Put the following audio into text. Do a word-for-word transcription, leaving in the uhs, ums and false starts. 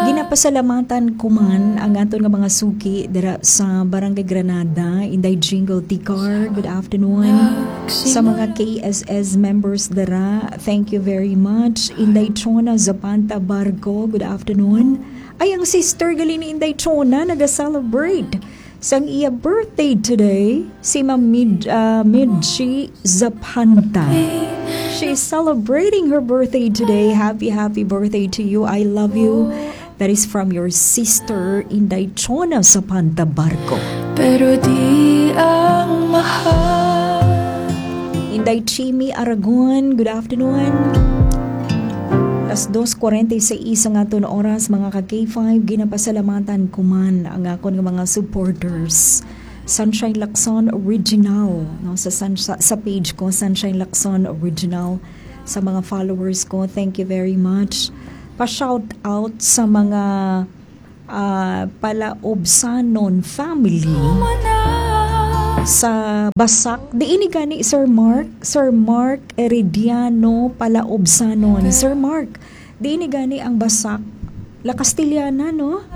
Ginapasalamatan ko man ang aton nga mga suki dira sa Barangay Granada, Inday Jingle Ticar, good afternoon. Sa mga K S S members dira, thank you very much. Inday Chona Zapanta Barco, good afternoon. Ay, ang sister gali ni Inday Chona naga-celebrate sang iya birthday today, si Ma'am Mid-, ah, Midchi Zapanta. She's celebrating her birthday today. Happy, happy birthday to you. I love you. That is from your sister, Inday Chona Zapanta Barco. Pero di ang mahal. Inday Chimi Aragon, good afternoon. Las dos cuarenta y seis ang aton oras, mga ka K five. Ginapasalamatan ko man ang akon nga mga supporters. Sunshine Lacson Original, no, sa, Sun-, sa, sa page ko, Sunshine Lacson Original. Sa mga followers ko, thank you very much. Pa-shout out sa mga, ah, Palaobsanon family sa Basak. Diin ni gani, Sir Mark? Sir Mark Herediano Palaobsanon. Sir Mark, diin ni gani ang Basak? La Castellana, no?